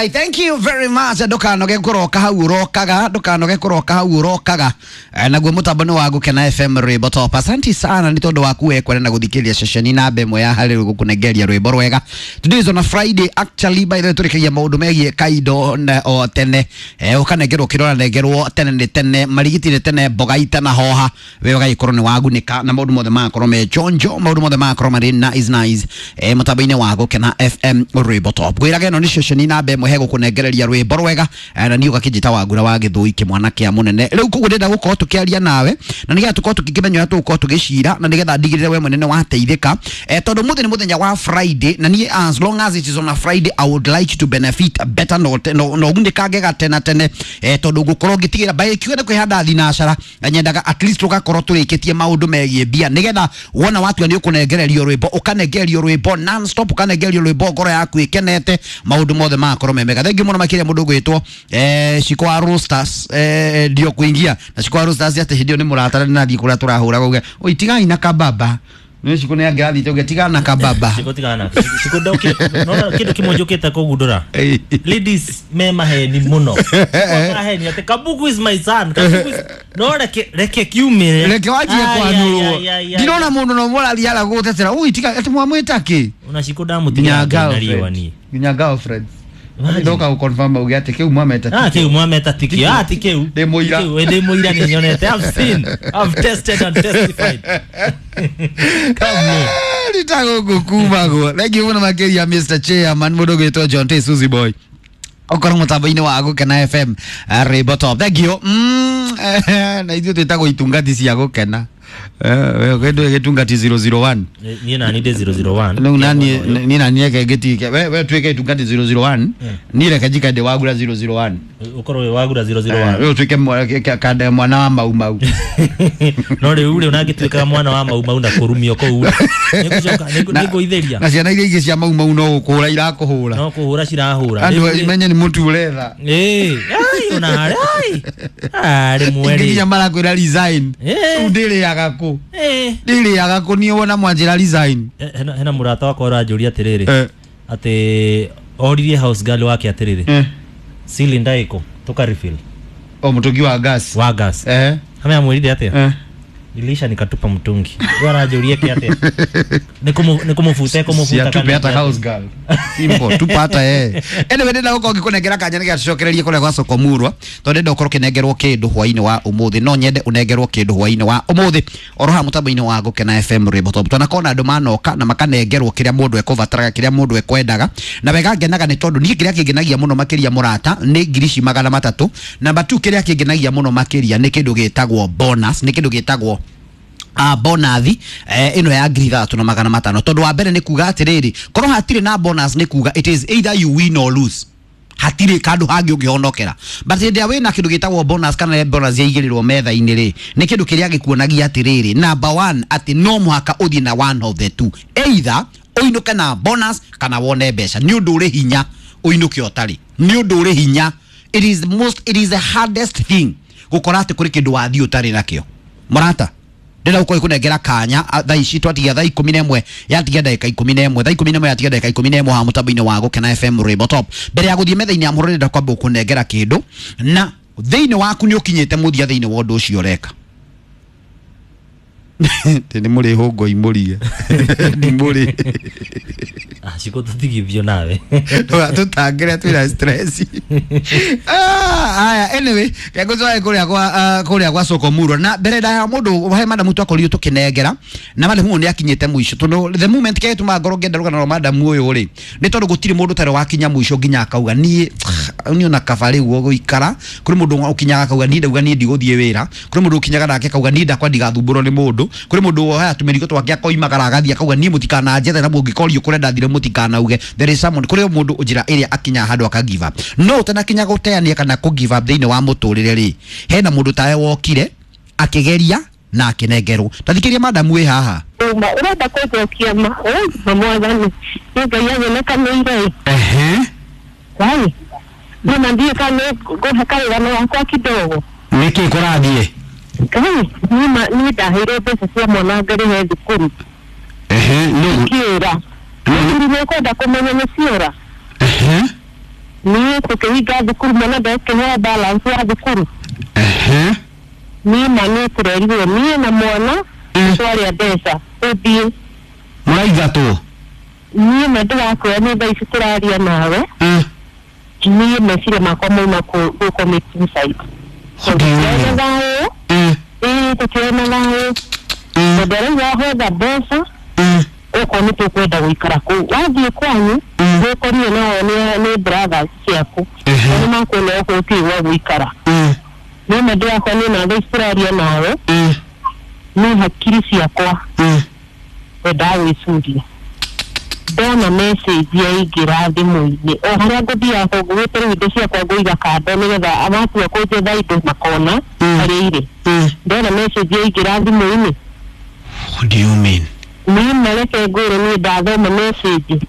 Ngai. Thank you very much. Ndukanoge kuroka hau urokaga, ndukanoge kuroka hau urokaga. Naguo mutambo ni wa Gukena FM rwimbo top. Asante sana ni tondu waku we kwenda guthikiria ceceni namba ĩmwe ya harĩ gukunengeria rwimbo rwega. Today is on a Friday actually, by the way, turikagia maundu megie kaindo na o tene. Ukanengerwo kirora nengerwo tene ni tene, marigiti ni tene, mboga itanahoha. We ugagikorwo ni wagunika na maundu mothe magakorwo me chonjo, maundu mothe magakorwo marĩ nice nice. Mutambo-inĩ wa Gukena FM rwimbo top. Ngwĩraga ĩno nĩ ceceni namba ĩmwe he gũkũnengereria rwĩmbo rwega, na niĩ ũgakĩnjĩta Wangura wa Gĩthũi kĩmwana kĩa mũnene. Rĩu koguo ndĩrenda gũkorwo tũkĩaria nawe na nĩgetha tũkorwo tũkĩmenya ũrĩa tũgũkorwo tũgĩcira na nĩgetha ndigĩrĩre we mwene nĩ wateithĩka, tondũ mũthĩ nĩ mũthenya wa Friday na niĩ as long as it is on a Friday I would like to benefit better no no gunĩkange gatena tene, tondũ ngũkorwo ngĩtigĩra by kiuga nĩ kwĩhanda thinacara na nyendaga at least tũgakorwo tũrĩkĩtie maũndũ megiĩ mbia nĩgetha wona watua nĩ ũkũnengererio rwĩmbo ũkanengererio rwĩmbo non stop, ũkanengererio rwĩmbo ngoro yaku ĩkenete, maũndũ mothe magakorwo me mega. Thank you mũno makĩria mũndũ ũgwĩtwo Shiko wa Roasters, ndio kuingia na Shiko wa Roasters atĩ hĩndĩ ĩyo nĩ mũratara nathiĩ kũrĩa tũrahũra uge oi tigai na kababa nĩ Shiko nĩ angĩrathiĩte uge tigana na kababa. Shiko tigana. Shiko ndokire. Nona kindu kimwe njukite kugundura. Ladies me maheni muno. Maheni ati Kabugu is my son. Kabugu is no reke reke kiumire. Reke wanjie kwanurwo. Ndirona mundu no mũrathi ara gũtetera oi tiga ati mwamwĩta kĩ. Ona Shiko ndamutiga na riũa ni. Nginya girlfriend. Ndoka guconfirm uge ati kiu mwameta. Ah, kiu mwameta tiki. Ah, ti kiu. Ndi muira. Ndi muira ni nyonete. I've seen. I've tested and testified. Come on. Nitago gukumagwo. Thank you muno makiria Mr. Chairman mundu gwitwo John T Suzy Boy. Okorwo mutambo-inĩ wa Gukena FM rwimbo top. Thank you. Na ithuĩ twĩtagwo itungati cia gũkena. We kĩndũ gĩtungati 001. Niĩ nani ndĩ 001. Rĩu nani niĩ nani reke ngĩtige. We tuĩke itungati 001. Niĩ reke njikare ndĩ Wagura 001. Ũkorwo wĩ Wagura 001. We ũtuĩke kande mwana wa Mau Mau. No rĩu rĩ ũnangĩtuĩkaga mwana wa Mau Mau na kũrumio kũu. Nĩngũcoka nĩngũithĩria. Na ciana iria ingĩ cia Mau Mau no gũkũhũra irakũhũra. No kũhũra cirahũra. Andũ menye nĩ mũtu ũretha. Ĩĩ. Ai ona harĩ. Ai. Arĩ mweri. Nginya marakwĩra resign. Rĩu ndĩrĩaga kũ. Ndĩrĩaga kũ niĩ wona mwanjĩra resign. Hena mũrata wakwa ũranjũria atĩrĩrĩ. Atĩ oririe house girl wake atĩrĩrĩ. Cylinder iko tuka refill. O mũtungi wa gas. Wa gas. Ame amwĩrire atĩa? Nilisha nikatupa mtungi. Wewe anajũria kĩ atĩa? Nikumufuta kumufuta kana. Tupe hata house girl. Simple, tupa hata yeye. Anyway, ndĩrenda gũkorwo ngĩkũnengera kanya nĩgetha tũcokererie kũrĩa gwa Soko Murwa. Tondũ ndĩrenda ũkorwo ũkĩnengerwo kĩndũ hwaĩ-inĩ wa ũmũthĩ. No nyende ũnengerwo kĩndũ hwaĩ-inĩ wa ũmũthĩ. Oro haha mũtambo-inĩ wa Gukena FM rwimbo top. Twanakona andũ manoka na makanengerwo kĩrĩa mũndũ ekũbataraga, kĩrĩa mũndũ ekwendaga. Na wega ngenaga nĩ tondũ niĩ kĩrĩa kĩngenagia mũno makĩria mũrata nĩ ngiri ici 300. Namba 2 kĩrĩa kĩngenagia mũno makĩria nĩ kĩndũ gĩtagwo bonus, nĩ kĩndũ gĩtagwo bonathi ĩno ya 3500. Tondũ wa mbere nĩ kuga atĩrĩrĩ, korwo hatirĩ na bonus nĩ kuga it is either you win or lose, hatirĩ kandu hangĩ ũngĩhonokera. But hĩndĩ ĩrĩa wĩna kĩndũ gĩtagwo bonus kana bonus yaigĩrĩrwo metha-inĩ rĩ, nĩ kĩndũ kĩrĩa gĩkuonagia atĩrĩrĩ, number 1 atĩ no mũhaka ũthiĩ na one of the two, either ũinũke na bonus kana wone mbeca. Nĩ ũndũ ũrĩ hinya ũinũke ũtarĩ, nĩ ũndũ ũrĩ hinya. It is the most, it is the hardest thing gũkora atĩ kũrĩ kĩndũ wathiĩ ũtarĩ nakĩo. Mũrata, ndĩrenda gũkorwo ngĩkũnengera kanya thaa ici twatigia thaa 11 yatigia ndagĩka 11, thaa 11 yatigia ndagĩka 11 haha mũtambo-inĩ wa Gukena FM rwimbo top. Mbere ya gũthiĩ metha-inĩ ya mũhoro ndĩrenda kwamba gũkũnengera kĩndũ na thĩinĩ waku nĩ ũkinyĩte mũthia thĩinĩ wa ũndũ ũcio ũreka. Nĩ mũrĩ hũngũ imũrige. Nĩ mũrĩ. Shiko tũtigithio nawe. Tũtangĩre twĩna stress. Aya, anyway, ngũcoe kũrĩa gwa Soko Murwa. Na mbere ndaya mũndũ he madamu twakorirwo tũkĩnengera na madamu ũyũ nĩ akinyĩte mũico. Tondũ the moment kĩrĩa gĩtũmaga ngorwo ngĩenda rũgano rwa madamu ũyũ rĩ, nĩ tondũ gũtirĩ mũndũ ũtarĩ wakinya mũico nginya akauga niĩ niĩ ona kaba rĩu gũikara. Kũrĩ mũndũ ũkinyaga akauga niĩ ndauga niĩ ndigũthiĩ wĩra. Kũrĩ mũndũ ũkinyaga nake akauga niĩ ndakwa ndigathumbũrwo nĩ mũndũ. Kũrĩ mũndũ woya tũmĩrigo twake akoimagara agathiĩ akauga niĩ mũtikananjethe na mũngĩkorio kũrĩa ndathire mũtikanauge. There is someone, kũrĩ mũndũ njĩra ĩrĩa akinyaga handũ aka give up. No ũtanakinya gũteania kana kũ give up thĩinĩ wa mũtũrĩre rĩ, hena mũndũ tawe wokire akĩgeria na akĩnengerwo. Tathikĩria madamu wĩ haha. Ũrenda kũnjokia ma mwathani nĩ Ngai anyonekanĩire. Ngai niĩ ndiĩ kana ngũhe karũgano gakwa kidogo. Nĩkĩ kũrathiĩ? Ngai niĩ ndaheirwo mbeca cia mwana ngarĩhe thukuru. Nĩ kĩũra. Thukuru nĩ ũkwenda kũmenya nĩ ciũra. Niĩ Tũkĩhinga thukuru mwana ndekĩheo balance ya thukuru. Ehe. Niĩ ma nĩ tũrerirwo niĩ na mwana twarĩa mbeca tũthiĩ. Mũraingatwo? Niĩ ma ndĩrakwĩra nĩ thaa ici tũraria nawe. Niĩ meciria makwa mauma gũ commit suicide. What do you Tũtiona mean? thayũ. Ĩĩ tũtiona thayũ. Tondũ arauga hotha mbeca okorwo nĩ tũkwenda gũikara kũu wathiĩ kwanyu wĩkorire nao nĩ brothers ciaku na nĩ makuona okorwo ũtirĩ gwa gũikara. Niĩ ma ndĩrakwa niĩ na thaa ici tũraria nawe nĩ hakiri ciakwa wendaga gwĩcuria ndona message yaingĩra thimũ-inĩ o harĩa ngũthiaga ngũgĩte rĩu indo ciakwa ngũiga kando nĩgetha matua kũnjetha indo makona harĩa irĩ. Ndona message yaingĩra thimũ-inĩ. What do you mean? Niĩ mareke ngwĩre niĩ ndathoma message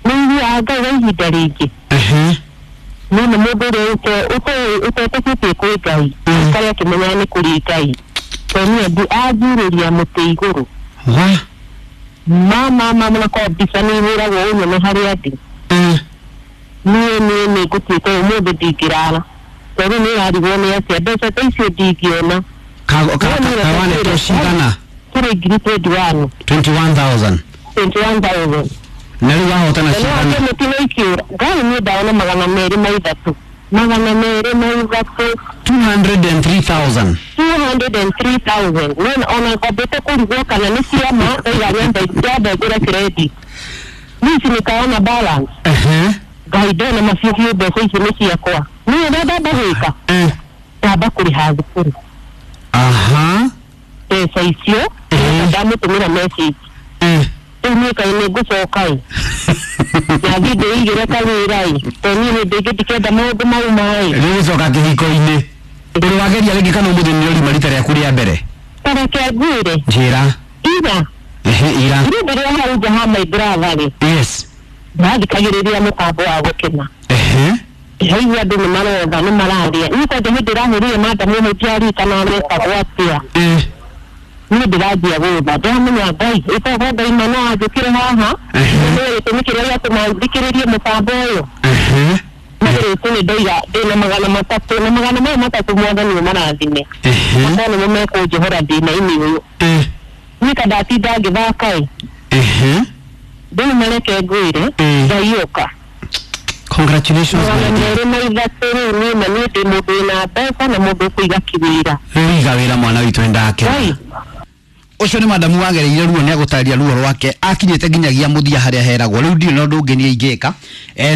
nĩ iguaga Ngai wa ihinda rĩngĩ. Niĩ nĩ mũndũ ũrĩa ũtetĩkĩtie kwĩ Ngai karĩa akĩmenyaga nĩ kũrĩ Ngai tondũ niĩ anjurĩria mũtĩ igũrũ. What? Mama mama na kwa mbica nĩ ihũragwo ũnyone harĩa ndĩ. Niĩ niĩ nĩ ngũtuĩka ũmũthĩ ndingĩrara tondũ nĩ ĩrarigwo nĩ atĩa mbeca ta icio ndingĩona. Kawanetwo cigana? Tũrĩ ngiri 21. 21,000. 21,000. Na rĩu wahotana Na cigana? nĩ mũtino ikĩũra Ngai niĩ ndaona 203 203. 203,000. 203,000. Niĩ ona ngambĩte kũrigwo kana nĩ ciama ndaiga nyambe ngũre credit niĩ ici nĩkaona balance. Ngai ndona macio biũ mbeca icio nĩ ciakwa niĩ ũrĩa ndamba gwĩka ndamba kũrĩha thukuru. Aha. Mbeca icio ndamũtũmĩra message rĩu niĩ kaĩ nĩ ngũcoka ĩ nathiĩ ndĩigĩre kawĩra ĩ tondũ niĩ hĩndĩ ĩngĩ ndikenda maũndũ mau maĩ. Rĩu gũcoka kĩhiko-inĩ ũrĩ wageria rĩngĩ kana ũmũthĩ nĩ ũrima rita rĩaku rĩa mbere? Tareke ngwĩre. Njĩra. Ira. Ehe, ira. Rĩu ndĩrĩ hau nja ha my brother rĩ. Yes. Ndathikagĩrĩria mũtambo wa gũkena. Ehe. Ndĩraigua andũ nĩ marotha nĩ mararia niĩ kwanja hĩndĩ ĩrahũrire madamu ũmwe ndiarikana arekagwo atĩa. Niĩ ndĩranjia gũtha ndĩramenya Ngai ĩkorwo Ngai ma no anjũkĩre haha nĩ gĩtũmi kĩrĩa gĩatũma thikĩrĩrie mũtambo ũyũ. Nĩ nĩ ndaiga ndĩna 300 na magana maya matatũ mwathani ũmarathime makorwo nĩmo mekũnjohora thĩna-inĩ ũyũ. Niĩ ta ndatinda ngĩthaka ĩ rĩu mareke ngwĩre Ngai ũka. Congratulations. 203 rĩu niĩ na niĩ ndĩ mũndũ wĩna mbeca na mũndũ ũkũiga kĩwĩra. Rĩu iga wĩra mwana witũ nĩndakena. Ũcio nĩ madamu wagereire ruo nĩ agũtarĩria ruo rwake akinyĩte nginyagia mũthia harĩa heragwo rĩu ndirĩ na ũndũ ũngĩ niĩ ingĩka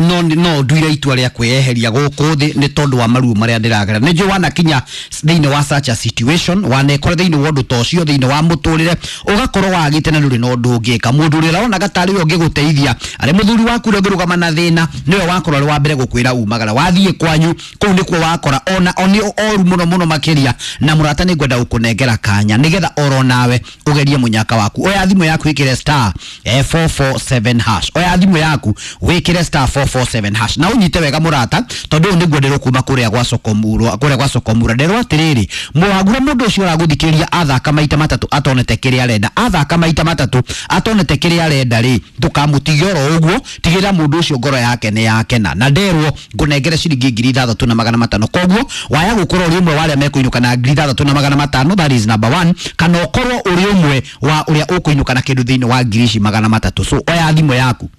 no no nduire itua rĩa kwĩyeheria gũkũ thĩ nĩ tondũ wa maruo marĩa ndĩragera. Nĩ njũĩ wanakinya thĩinĩ wa such a situation wanekora thĩinĩ wa ũndũ ta ũcio thĩinĩ wa mũtũrĩre ũgakorwo wagĩte na ndũrĩ na ũndũ ũngĩka. Mũndũ ũrĩa ũronaga tarĩ we ũngĩgũteithia arĩ mũthuri waku ũrĩa ũngĩrũgama na thĩna nĩwe wakorwo arĩ wa mbere gũkwĩra umagara wathiĩ kwanyu kũu nĩkuo wakora ona nĩ oru mũno mũno makĩria. Na mũrata nĩ ngwenda gũkũnengera kanya nĩgetha oro nawe ugerie munyaka waku. Oya thimũ yaku wikire star 447 hash. Oya thimũ yaku wikire star 447 hash na unyite wega mũrata tondũ ũyũ nĩguo ndĩrwo kuma kũrĩa gwa Sokomura kũrĩa gwa Sokomura nderwo atĩrĩrĩ mũhagura mũndũ ũcio ũragũthikĩrĩria athaka maita matatũ atonete kĩrĩa arenda athaka maita matatũ atonete kĩrĩa arenda rĩ ndũkamũtige oro ũguo tigĩrĩra mũndũ ũcio ngoro yake nĩ yakena. Na nderwo ngũnengere ciringi 6,500 koguo waya gũkorwo ũrĩ ũmwe wa arĩa mekũinũka na 6,500 that is number 1 kana ũkorwo ũrĩ ũmwe wa ũrĩa ũkũinũka na kĩndũ thĩinĩ wa 300,000. So oya thimũ yaku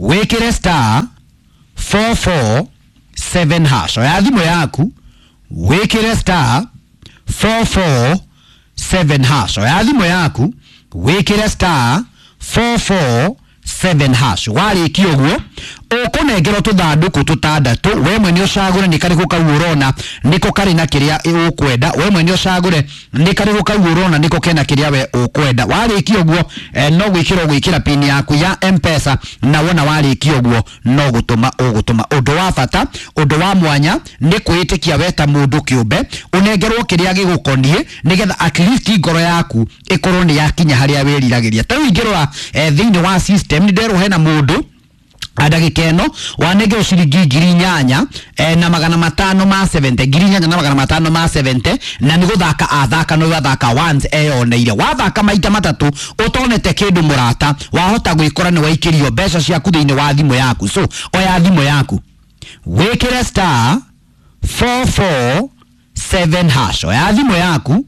wĩkĩre star 447 hash. Oya thimũ yaku wĩkĩre star 447 hash. Oya thimũ yaku wĩkĩre star 447 hash. Warĩkia ũguo ũkũnengerwo tũthandũkũ tũtandatũ we mwene ũcagũre nĩ karĩkũ kau ũrona nĩko karĩ na kĩrĩa ũkwenda we mwene ũcagũre nĩ karĩkũ kau ũrona nĩko kena kĩrĩa we ũkwenda. Warĩkia ũguo no gwĩkĩra ũgwĩkĩra pin yaku ya M-Pesa na wona warĩkia ũguo no gũtũma ũgũtũma. Ũndũ wa bata ũndũ wa mwanya nĩ kwĩĩtĩkia we ta mũndũ kĩũmbe ũnengerwo kĩrĩa gĩgũkoniĩ nĩgetha at least ngoro yaku ĩkorwo nĩ yakinya harĩa wĩriragĩria. Ta rĩu ingĩrora thĩinĩ wa system nĩ nderwo hena mũndũ ndagĩka ĩno wanengerwo ciringi 8,570 8,570 na nĩ gũthaka athaka no athaka once eyoneire. Wathaka maita matatũ ũtonete kĩndũ mũrata wahota gwĩkora nĩ waikĩrio mbeca ciaku thĩinĩ wa thimũ yaku. So oya thimũ yaku Wĩkĩre star 447 hash. Oya thimũ yaku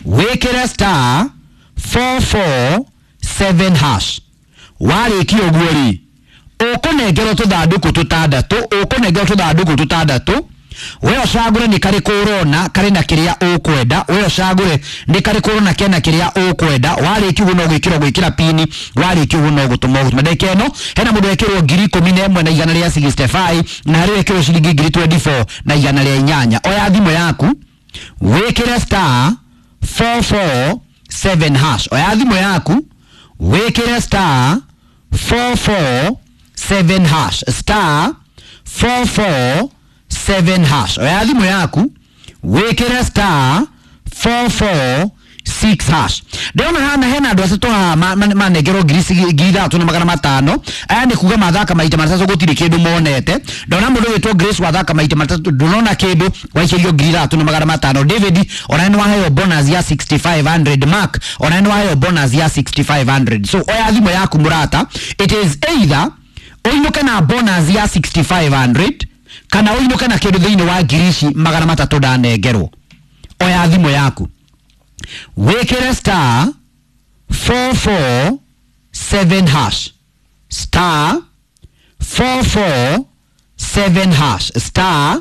wĩkĩre star 447 hash. Warĩkia ũguo rĩ, ũkũnengerwo tũthandũkũ tũtandatũ, ũkũnengerwo tũthandũkũ tũtandatũ. We ũcagũre nĩ karĩkũ ũrona karĩ na kĩrĩa ũkwenda, we ũcagũre nĩ karĩkũ ũrona kena kĩrĩa ũkwenda. Warĩkia ũguo no gwĩkĩra gwĩkĩra pini, warĩkia ũguo no gũtũma ũgũtũma. Ndagĩka ĩno hena mũndũ wekĩrwo 11,165 na harĩ wekĩrwo ciringi 24,108. Oya thimũ yaku wĩkĩre star 447 hash. Oya thimũ yaku wĩkĩre star 447 hash, star 447 hash. Oya thimũ yaku wĩkĩre star 446 hash. Ndĩrona hana hena andũ atatũ haha manengerwo 3,500. Aya nĩ kuga mathaka maita matatũ gũtirĩ kĩndũ monete. Ndona mũndũ wĩtwo Grace wathaka maita matatũ ndũnona kĩndũ, waikĩrio 3,500. David ona nĩ waheo bonus ya 6,500. Mark ona nĩ waheo bonus ya 6,500. So oya thimũ yaku mũrata, it is either ũinũke na bonus ya 6,500 kana ũinũke na kĩndũ thĩinĩ wa 300,000 ndanengerwo. Oya thimũ yaku wĩkĩre star 447 hash, star 447 hash, star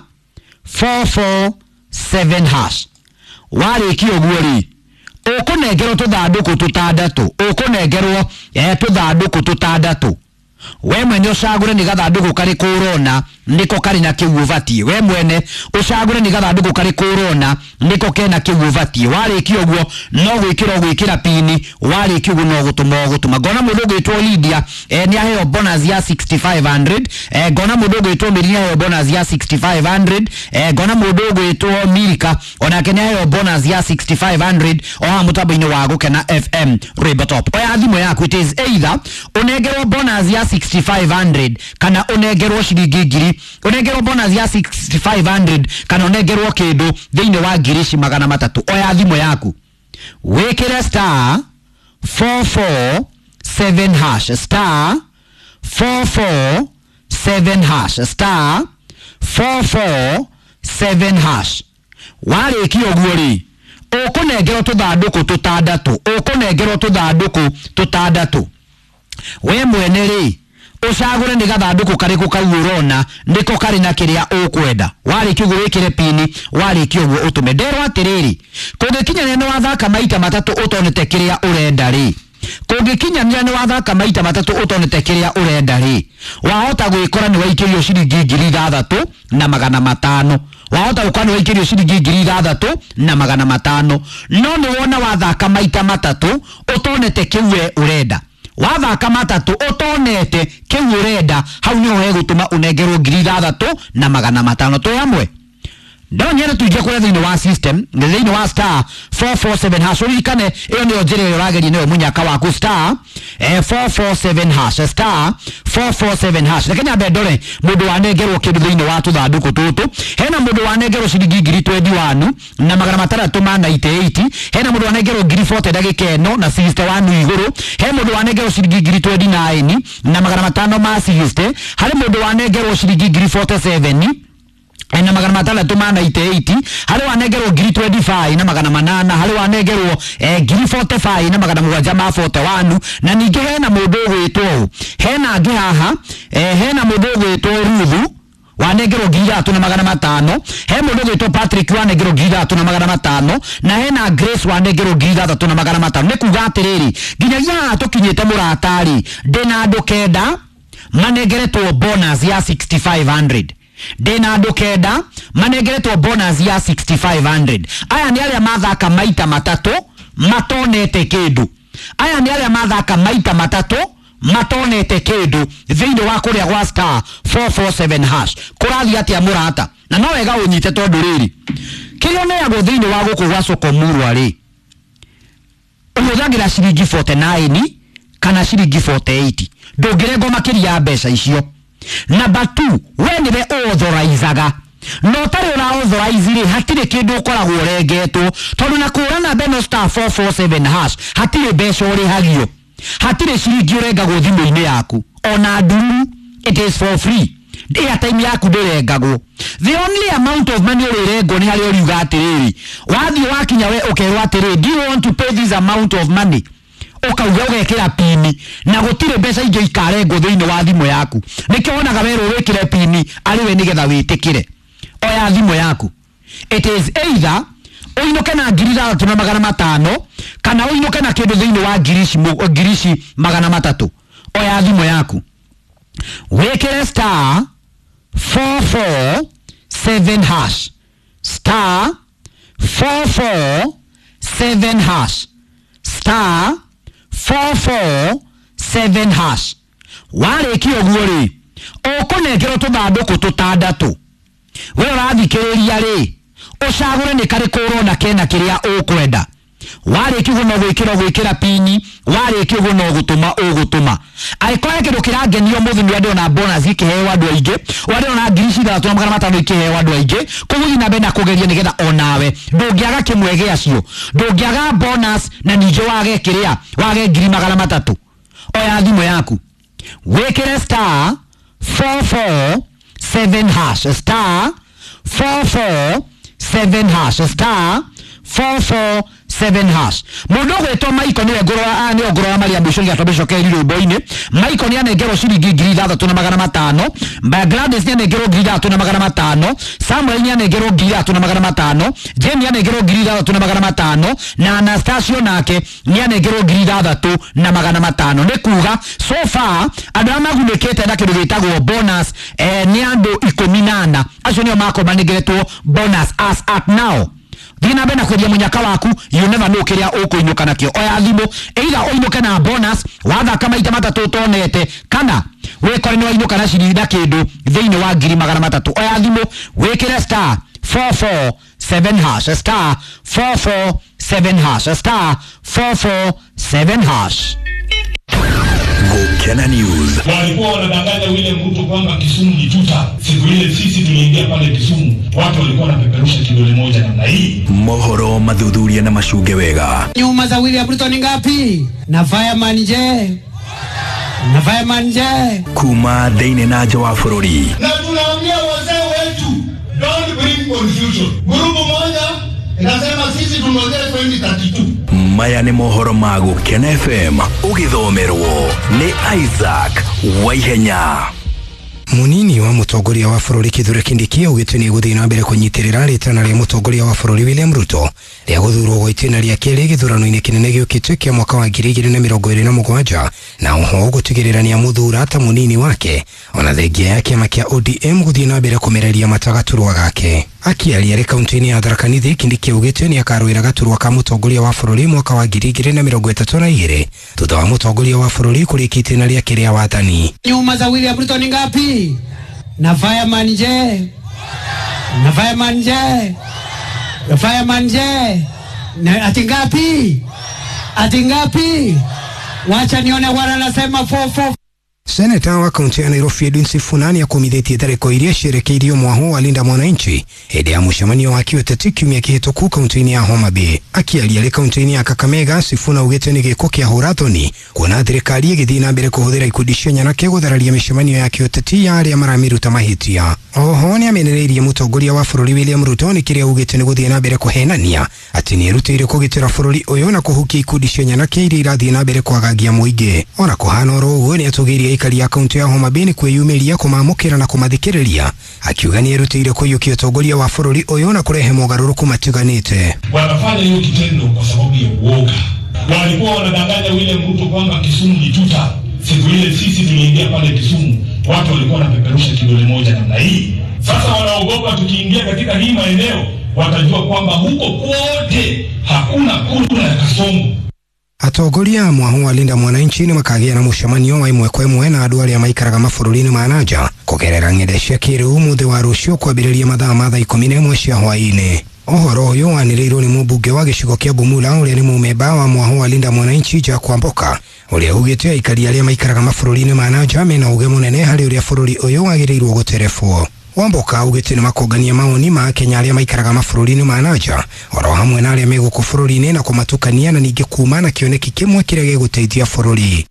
447 hash. Warĩkia ũguo rĩ, ũkũnengerwo tũthandũkũ tũtandatũ, ũkũnengerwo tũthandũkũ tũtandatũ. We mwene ũcagũre nĩ gathandũkũ karĩkũ ũrona nĩko karĩ na kĩu ũbatiĩ. We mwene ũcagũre nĩ gathandũkũ karĩkũ ũrona nĩko kena kĩu ũbatiĩ. Warĩkia ũguo no gwĩkĩra ũgwĩkĩra pini, warĩkia ũguo no gũtũma ũgũtũma. Ngona mũndũ ũgwĩtwo Lydia nĩ aheo bonus ya 6,500. Ngona mũndũ ũgwĩtwo Mary nĩ aheo bonus ya 6,500. Ngona mũndũ ũgwĩtwo Milka onake nĩ aheo bonus ya 6,500 o haha mũtambo-inĩ wa Gũkena FM Rwĩmbo Top. Oya thimũ yaku, it is either ũnengerwo bonus ya 6,500 kana ũnengerwo ciringi ngiri, ũnengerwo bonus ya 6,500 kana ũnengerwo kĩndũ thĩinĩ wa 300,000. Oya thimũ yaku wĩkĩre star 447 hash, star 447 hash, star 447 hash. Warĩkia ũguo rĩ, ũkũnengerwo tũthandũkũ tũtandatũ, ũkũnengerwo tũthandũkũ tũtandatũ. We mwene rĩ, ũcagũre nĩ gathandũkũ karĩkũ kau ũrona nĩko karĩ na kĩrĩa ũkwenda. Warĩkia ũguo wĩkĩre pini, warĩkia ũguo ũtũme. Nderwo atĩrĩrĩ, kũngĩkinyanĩra nĩ wathaka maita matatũ ũtonete kĩrĩa ũrenda rĩ, kũngĩkinyanĩra nĩ wathaka maita matatũ ũtonete kĩrĩa ũrenda rĩ, wahota gwĩkora nĩ waikĩrio ciringi 6,500. Wahota gũkorwo nĩ waikĩrio ciringi 6,500. No nĩ wona wathaka maita matatũ ũtonete kĩu we ũrenda, wathaka matatũ ũtonete kĩu ũrenda, hau nĩho hegũtũma ũnengerwo 6,500. Twĩ hamwe? Ndonyere tuingie kũrĩa thĩinĩ wa system, thĩinĩ wa star 447 hash. Ũririkane ĩyo nĩyo njĩra ĩrĩa ũrageria nĩyo mũnyaka waku, star 447 hash, star 447 hash. Reke nyambe ndore mũndũ wanengerwo kĩndũ thĩinĩ wa tũthandũkũ tũtũ. Hena mũndũ wanengerwo ciringi 21,698. Hena mũndũ wanengerwo 40 ndagĩka ĩno na 61 igũrũ. He mũndũ wanengerwo ciringi 29,560. Harĩ mũndũ wanengerwo ciringi 47 na 698. Harĩ wanengerwo 25,800. Harĩ wanengerwo 45,741. Na ningĩ hena mũndũ ũgwĩtwo ũũ, hena angĩ haha, hena mũndũ ũgwĩtwo Ruthu wanengerwo 3,500. He mũndũ ũgwĩtwo Patrick wanengerwo 3,500 na hena Grace wanengerwo 3,500. Nĩ kuga atĩrĩrĩ, nginyagia haha tũkinyĩte mũratarĩ, ndĩna andũ kenda manengeretwo bonus ya 6,500. Ndĩna andũ kenda manengeretwo bonus ya 6,500. Aya nĩ arĩa mathaka maita matatũ matonete kĩndũ. Aya nĩ arĩa mathaka maita matatũ matonete kĩndũ thĩinĩ wa kũrĩa gwa star 447 hash. Kũrathiĩ atĩa mũrata? Na no wega ũnyite tondũ rĩrĩ, kĩrĩa ũneagwo thĩinĩ wa gũkũ gwa Sokomurwa rĩ, ũhũthagĩra ciringi 49 kana ciringi 48. Ndũngĩrengwo makĩria ya mbeca icio. Number 2, we nĩwe ũauthorizaga. Na ũtarĩ ũra-authorize rĩ, hatirĩ kĩndũ ũkoragwo ũrengetwo, tondũ na kũra namba ĩno star 447 hash hatirĩ mbeca ũrĩhagio, hatirĩ ciringi ũrengagwo thimũ-inĩ yaku, ona nduru, it is for free. Airtime yaku ndĩrengagwo. The only amount of money ũrĩrengwo nĩ harĩa ũriuga atĩrĩrĩ, wathiĩ wakinya we ũkerwo atĩrĩrĩ, do you want to pay this amount of money? Ũkauga ũgekĩra pini na gũtirĩ mbeca ingĩ ikarengwo thĩinĩ wa thimũ yaku. Nĩkĩo wonaga werwo wĩkĩre pini arĩ we nĩgetha wĩtĩkĩre. Oya thimũ yaku. It is either ũinũke na 6500 kana ũinũke na kĩndũ thĩinĩ wa 300,000. Oya thimũ yaku wĩkĩre star 447 hash, star 447 hash, star 447 hash. Warĩkia ũguo rĩ, ũkũnengerwo tũthandũkũ tũtandatũ. We ũrathikĩrĩria rĩ, ũcagũre nĩ karĩkũ ũrona kena kĩrĩa ũkwenda. Warĩkia ũguo no gwĩkĩra gwĩkĩra pini, warĩkia ũguo no gũtũma ũgũtũma. Angĩkorwo he kĩndũ kĩrangenia ũmũthĩ nĩ ndĩrona bonus ikĩheo andũ aingĩ, ndĩrona 6500 ikĩheo andũ aingĩ, koguo thiĩ na mbere na kũgeria nĩgetha onawe ndũngĩaga kĩmwe gĩacio, ndũngĩaga bonus na ningĩ wage kĩrĩa, wage 300,000. Oya thimũ yaku wĩkĩre star 447 hash, star 447 hash, star 447 hash. Mũndũ ũgwĩtwo Michael nĩwe ngũrora, nĩwe ngũrora maria mũico nĩgetha twambe rwĩmbo-inĩ. Michael nĩ anengerwo ciringi 6500, Gladys nĩ anengerwo 6500, Samuel nĩ anengerwo 6500, Jane nĩ anengerwo 6500 na Anastasio nake nĩ anengerwo 6500. Nĩ kuga so far andũ arĩa magunĩkĩte na kĩndũ gĩtagwo bonus nĩ andũ 14. Acio nĩo makorwo manengeretwo bonus as at now. Thiĩ na mbere na kwendia mũnyaka waku, you never know kĩrĩa ũkũinũka nakĩo. Oya thimũ, either ũinũke na bonus wathaka maita matatũ ũtonete, kana wĩkore nĩ wainũka na ciringi na kĩndũ thĩinĩ wa 300,000. Oya thimũ wĩkĩre star 447 hash, star 447 hash, star 447 hash. Gukena News. Walikuwa wanadanganya William Ruto kwamba Kisumu ni tuta. Siku ile sisi tuliingia pale Kisumu, watu walikuwa wanapeperusha kidole moja namna hii. Mohoro mathuthuria na macunge wega. Nyuma za William Ruto ni ngapi? Na fireman je? Na fireman je? Kuma thĩinĩ na nja wa bũrũri. Na tunaambia wazee wetu, don't bring confusion. Gurubu moja inasema sisi tungoje 2032. Maya nĩ mohoro ma Gukena FM ũgĩthomerwo nĩ Isaac Waihenya. Munini wa mutongoria wa bũrũri Kithure Kindiki augĩte nĩ gũthiĩ na mbere kũnyitĩrĩra rĩtana rĩa mũtongoria wa bũrũri William Ruto rĩa gũthurwo gwa itĩna rĩa kerĩ gĩthurano-inĩ kĩnene gĩũkĩte kĩa mwaka wa 2027 na oho gũtigĩrĩra nĩamũthura ta mũnini wake ona thengia ya kĩama kĩa ODM gũthiĩ na mbere kũmereria mata gaturwa gake. Akiaria arĩ kaunti-inĩ ya Tharaka Nithi, Kindiki augĩte nĩakarũĩra gaturwa ka mũtongoria wa bũrũri mwaka wa 2032 thutha wa mũtongoria wa bũrũri kũrĩkia itĩna rĩake rĩa wathani. Nyuma za William Ruto ni ngapi? Na fireman je? Na fireman je? Na fireman je? Na ati ngapi? Ati ngapi? Wacha nione wana nasema 44. Seneta wa kaunti ya Nairobi Edwin Sifuna nĩakomithĩtie tharĩko iria cierekeirio mwaho wa Linda Mwananchi hĩndĩ ya mũcemanio wa kĩũteti kiumia kĩhĩtũku kaunti-inĩ ya Homa Bay. Akiaria arĩ kaunti-inĩ ya Kakamega, Sifuna augĩte nĩ gĩko kĩa hũra-thoni kuona thirikari ĩgĩthiĩ na mbere kũhũthĩra ikundi cia nyanake gũthararia mĩcemanio ya kĩũteti ya arĩa maramĩruta mahĩtia. Oho nĩamenereirie mũtongoria wa bũrũri William Ruto nĩ kĩrĩa augĩte nĩ gũthiĩ na mbere kũhenania atĩ nĩerutĩire kũgitĩra bũrũri ũyũ na kũhukia ikundi cia nyanake iria irathiĩ na mbere kwagagia mũingĩ. Ona kũhana oro ũguo nĩatũgĩirie aikari a kaunti ya Homa Bay nĩ kwĩyumĩria kũmamũkĩra na kũmathikĩrĩria, akiuga nĩerutĩire kũiyũkia ũtongoria wa bũrũri ũyũ na kũrehe mogarũrũku matiganĩte. Wanafanya hiyo kitendo kwa sababu ya uoga. Walikuwa wanadanganya William Ruto kwamba Kisumu ni tuta. Siku ile sisi tuliingia pale Kisumu, watu walikuwa wanapeperusha kidole moja namna hii. Sasa wanaogopa tukiingia katika hii maeneo watajua kwamba huko kote hakuna kura ya Kasongo. Atongoria a mwahu wa Linda Mwananchi nĩ makagĩa na mũcemanio wa ĩmwe kwa ĩmwe na andũ arĩa maikaraga mabũrũri-inĩ ma nanja kũgerera ng'enda cia kĩrĩu mũthĩ wa rũciũ kwambĩrĩria mathaa ma thaa 11 cia hwaĩ-inĩ. Ũhoro ũyũ wanĩrĩirwo nĩ mũmbunge wa gĩcigo kĩa Bumula ũrĩa nĩ mũmemba wa mwahu wa Linda Mwananchi Jack Wamboka ũrĩa ugĩte aikari arĩa maikaraga mabũrũri-inĩ ma nanja mena ũgĩ mũnene harĩ ũrĩa bũrũri ũyũ wagĩrĩirwo gũterebwo. Wamboka augĩte nĩ makũngania maoni ma Kenya arĩa maikaraga mabũrũri-inĩ ma nanja oro hamwe na arĩa me gũkũ bũrũri-inĩ na kũmatukania na ningĩ kuma na kĩoneki kĩmwe kĩrĩa gĩgũteithia bũrũri.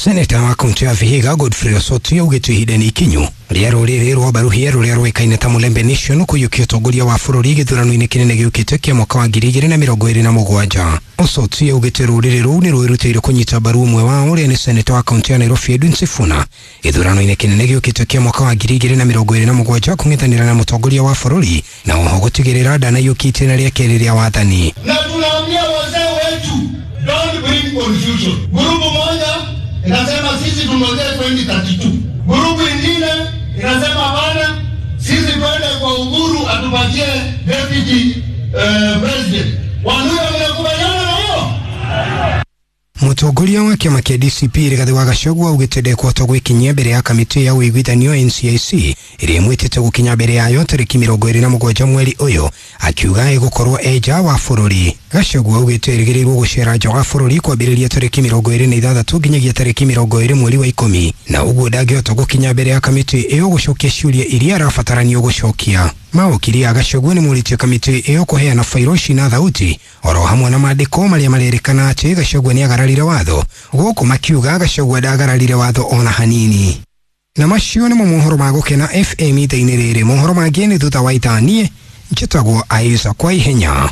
Seneta wa kaunti ya Vihiga Godfrey Osotsi augĩte ihinda nĩ ikinyu rĩa rũrĩrĩ rwa Baruhia rũrĩa rũĩkaine ta Mulembe Nation kũiyũkia ũtongoria wa bũrũri gĩthurano-inĩ kĩnene gĩũkĩte kĩa mwaka wa 2027. Osotsi augĩte rũrĩrĩ rũu nĩ rwĩrutĩire kũnyita mbaru ũmwe wao ũrĩa nĩ seneta wa kaunti ya Nairobi Edwin Sifuna gĩthurano-inĩ kĩnene gĩũkĩte kĩa mwaka wa 2027 kũng'ethanĩra na mũtongoria wa bũrũri na oho gũtigĩrĩra ndanaiyũkia itĩna rĩa kerĩ rĩa wathani. Na tunaambia wazee wetu, don't bring confusion. Grupu moja inasema sisi tungojee 2032, grupu ingine inasema hapana, sisi twende kwa Uhuru atupatie deputy president. Waluya, mnakubaliana na hiyo? Mũtongoria wa kĩama kĩa DCP Rigathĩ wa Gachagua augĩte ndekũhota gwĩkinyia mbere ya kamĩtĩ ya ũiguithanio NCIC ĩrĩa ĩmwĩtĩte gũkinya mbere yayo tarĩki 27 mweri ũyũ, akiuga ĩgũkorwo e nja wa bũrũri. Gachagua augĩte ĩrĩgĩrĩirwo gũcera nja wa bũrũri kwambĩrĩria tarĩki 26 nginyagia tarĩki 20 mweri wa 10, na ũguo ndangĩhota gũkinya mbere ya kamĩtĩ ĩyo gũcokia ciũria iria arabataranio gũcokia. Mawokiri a Gachagua nĩ morĩtie kamĩtĩ ĩyo kũheana fairo ici na thauti oro hamwe na maandĩko marĩa marerĩkana atĩ Gachagua nĩ agararire watho, gũkũ makiuga Gachagua ndagararire watho ona hanini. Na macio nĩmo mohoro ma Gũkena FM itha-inĩ rĩrĩ. Mohoro mangĩ nĩ thutha wa ithaa. Niĩ njĩtagwo Isaac kwa ihenya.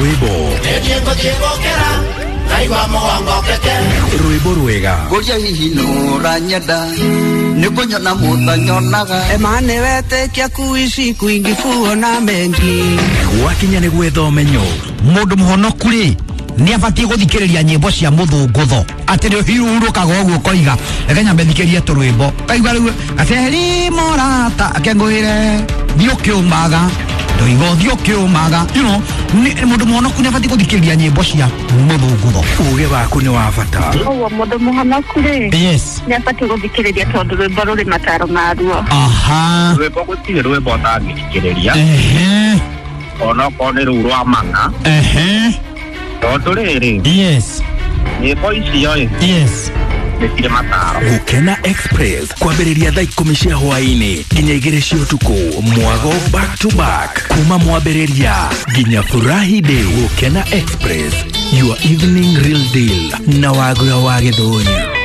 Rwĩmbo rwĩmbo rwega Ngũria hihi nũranyenda nĩ kũnyona mũtanyonaga. Emane wetekia kuishi kwingi kuona mengi. Gwakinya nĩ gwetha ũmenyo. Mũndũ mũhonoku rĩ nĩ abatiĩ gũthikĩrĩria nyĩmbo cia mũthũngũtho atĩ nĩ ũhurũkaga ũguo ũkoiga reke nyambe thikĩrie tũrwĩmbo kaigua rĩu gaceri morata akengũĩre thiĩ ũkĩũmaga ndoiga ũthiĩ ũkĩũmaga, you know, mũndũ mũhonoku nĩ abatiĩ gũthikĩrĩria nyĩmbo cia mũthũngũtho. Ũgĩ waku nĩ wa bata. Ũguo mũndũ mũhonoku rĩ, yes, nĩ abatiĩ gũthikĩrĩria tondũ rwĩmbo rũrĩ mataro maruo. Aha. Rwĩmbo gũtirĩ rwĩmbo ũtangĩthikĩrĩria. Ehe. Onokorwo nĩ rũu rwa mana. Ehe. Tondũ rĩrĩ, yes, nyĩmbo icio ĩ, yes, nĩ cirĩ mataro. Gũkena Express kwambĩrĩria thaa 10 cia hwaĩ-inĩ nginya 2 cia ũtukũ, mwago back to back kuma mwambĩrĩria nginya furahi day. Gũkena Express, your evening real deal na Wagura wa Gĩthũri.